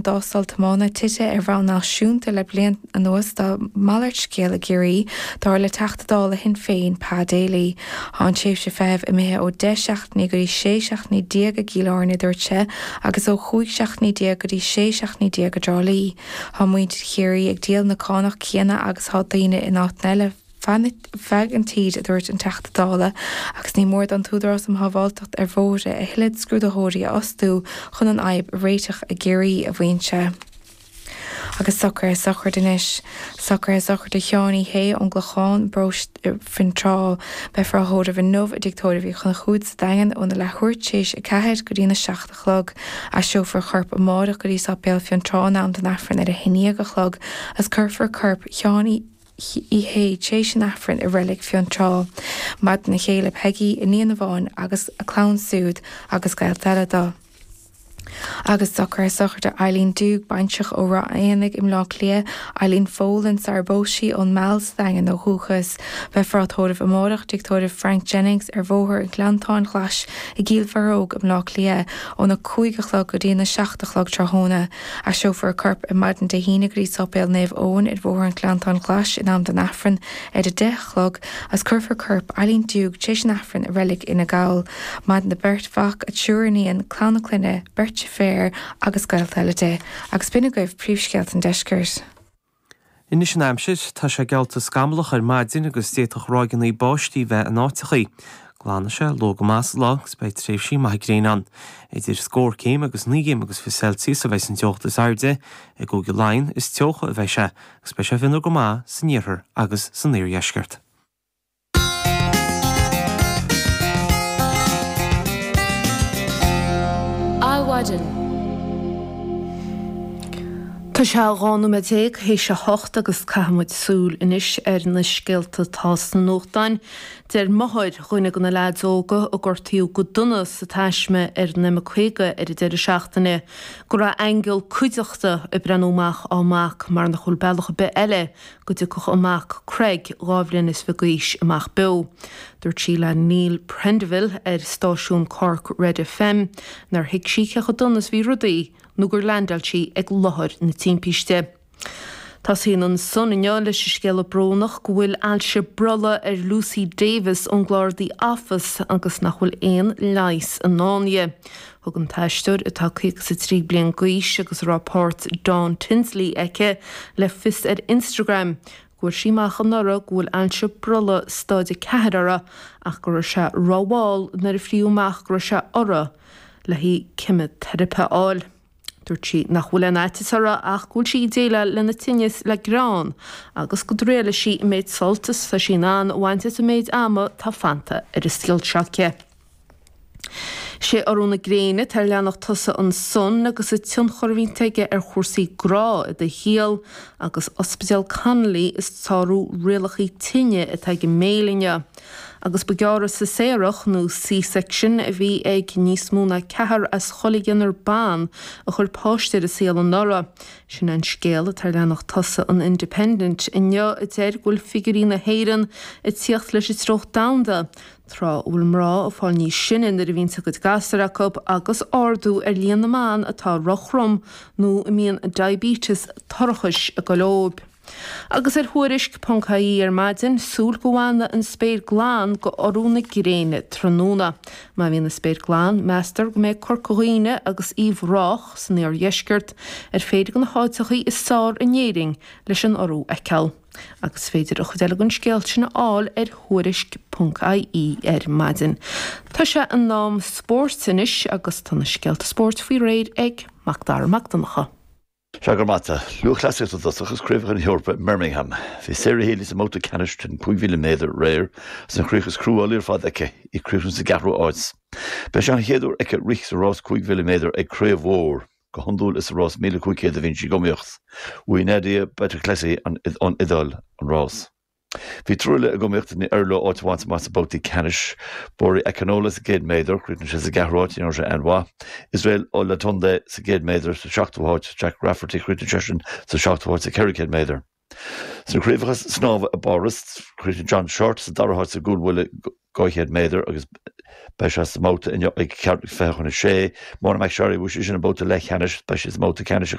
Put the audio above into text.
dtástáil tiomána tite ar bhonn náisiúnta le bliain anuas tá malairt scéil i gCiarraí, dar le Teachta Dála Shinn Féin, Pa Daly. Tá an tréimhse feithimh imithe ó 10 seachtainí go dtí 16 seachtainí i gCill Airne, a dúirt sé, agus ó 15 seachtainí go dtí 16 seachtainí i dTrá Lí. Tá muintir Chiarraí ag díol na cánach céanna agus tá daoine in áiteanna eile feadh an tír, a dúirt an Teachta Dála, agus ní mór don tÚdarás um Shábháilteacht ar Bhóithre a thuilleadh scrúdaitheoirí a fhostú chun an fhadhb a réiteach i gCiarraí, a mhaíonn sé. Agus socruithe sochraide anois. Socruithe sochraide Sheáin Uí Shé ón gClochán, paróiste Fionntrá. Beifear á thórramh inniu i dTigh Tórraimh Uí Chonchúir sa Daingean óna leathuair tar éis 4 go dtí na 7 a chlog. Aistreofar a chorp amárach go dtí Sáipéal Fionntrá in am don Aifreann ar a 11 a chlog agus cuirfear corp Sheáin Uí Shé tar éis an Aifrinn i Reilig Fionntrá. Maireann a chéile Peggy, iníon amháin agus a clann siúd agus gaolta eile dó. Agus socruithe sochraide Eileen Doogue, baintreach ó Ráth Éanaigh i mBleá Cliath, Eileen Folan sarar phós sí ón Meall sa Daingean ó dhúchas. Beifear á tórramh amárach i dTigh Tórraimh Frank Jennings ar Bhóthar an Ghleanntáin Ghlais i gCill Bharróg i mBleá Cliath óna 5 a chlog go dtí na 7 a chlog tráthnóna. Aistreofar a corp ar maidin Dé hAoine go dtí Sáipéal Naomh Eoin ar Bhóthar an Ghleanntáin Ghlais in am don Aifreann ar a 10 a chlog agus cuirfear corp Eileen Doogue tar éis an Aifrinn i Reilig Fhine Gall. Maireann a beirt mhac, a triúr iníon, clann a clainne, beirt deirféar agus gaolta eile di. Agus b'in agaibh príomhscéalta an deiscirt. Anois an aimsir, tá sé geallta scamallach ar maidin agus d'fhéadfadh ráigeanna báistí bheith in áiteachaí. Glanfaidh sé luath go maith sa lá agus beidh tréimhsí maithe gréine ann. Idir scór céim agus 9 gcéim agus 20 Celsius a bheidh an teocht is airde. I gCúige Laighean is teocha a bheidh sé agus beidh sé fionnuar go maith san iarthar agus san iardheisceart. Adhmhaidin. Tá sé 12 nóiméad théis a hocht agus caithfidh muid súil anois ar na scéalta atá sna nuachtáin. Deir máthair dhuine de na leaids óga a gortaíodh go dona sa taisme ar an M50 ar an deireadh seachtaine go raibh aingeal cuideachta ag breathnú amach á mac mar nach bhfuil bealach ar bith eile go dtiocfadh a mac Craig, 22 bhliain d'aois, amach beo. Dúirt sí le Neil Prendeville ar stáisiún Cork Red FM nár thuig sí cé chomh dona is a bhí rudaí nó gur leaindeáil sí ag láthair na timpiste. Tosaíonn an Sun inniu leis an scéala brónach go bhfuil ailse brollaigh ar Lucy Davis ón gclár The Office agus nach bhfuil aon leigheas i ndán di. Thug an t-aisteoir, atá 53 bliain d'aois agus a raibh páirt Dawn Tinsley aici, le fios ar Instagram go bhfuair sí amach anuraidh go bhfuil ailse brollaigh staid 4 uirthi ach go raibh sé rómhall nuair a fríodh amach go raibh sé uirthi le haghaidh ceimiteiripe a fháil. Dúirt sí nach bhfuil aon fhaitíos uirthi ach go bhfuil sí ag déileáil lena tinneas le greann agus go dtriailfidh sí an méid sult is atá sí in ann a bhaint as an méid ama atá fanta ar an saol seo aici. Sé urú na gréine atá ar leathanach tosaigh an Sun agus an tionchar a bhíonn aige ar chúrsaí grá i do shaol agus Ospidéal Connolly ag sárú rialacha tine atá ag an Mail inniu. Agus ba gearradh seiséarach nó C-section a bhí ag níos mó ná ceathrar as chuile dhéanar ban a chuir páiste ar an saol anuraidh. Sin é an scéal atá ar leathanach tosaigh an Independent inniu a deir go bhfuil figiúirí na hÉireann ag tíocht leis an treocht domhanda tráth a bhfuil mná ag fáil níos sine nuair a bhíonns a gcuid gasúr acu agus ardú ar líon na mban atá rochrom nó a mbíonn diabetes toirchis ag goil dóibh. Agus ar Thuairisc ponc ie ar maidin, súil go bhfanfaidh an spéir glan go urú na gréine tráthnóna. Má bhíonn an spéir glan, meastar go mbeidh Corca Dhuibhne agus Uíbh Ráthach san iardheisceart ar phéire de na háiteachaí is fearr in Éirinn leis an urú a fheiceáil. Agus is féidir an chuid eile den scéal sin a fháil ar Thuairisc ponc ie ar maidin. Tá sé in am spóirt anois agus tá na scéalta spóirt faoi réir ag Mac Dara Mac Donncha. Sea, go raibh maith agat. Lúthchleasaíocht i dtosach agus Craobhacha na hEorpa i mBirmingham. Bhí Sarah Healy sa mbabhta ceannais den 5,000 méadar aréir agus an chríoch is cruálaí ar fad aici, í ag críochnú sa gceathrú áit. B'é seo an chéad uair aici rith sa rás 5,000 méadar ag craobh mhór. Go hiondúil is sa rás 1,500 a bhíonn sí ag iomaíocht. Bhuaigh Nadia Battocletti ón Iodáil an rás. Bhí triúr eile ag iomaíocht, níor éirigh leo áit a bhaint amach sna babhtaí ceannais. Bori Akinola sa gcéad méadar, chríochnaigh sé sa gceathrú háit, ní raibh sé an-mhaith. Israel Olatunde sa gcéad méadar sa seachtú háit, Jack Rafferty, chríochnaigh seisean sa seachtú háit sa 400 méadar. Sna craobhacha snámha i bPáras, chríochnaigh John Shortt sa dara háit sa gcúlbhuille 200 méadar agus beidh sé sa mbabhta inniu ag ceathrú 20 chun a sé. Mona McSharry, bhuaigh sise an babhta leathcheannais, beidh sí sa mbabhta ceannais i.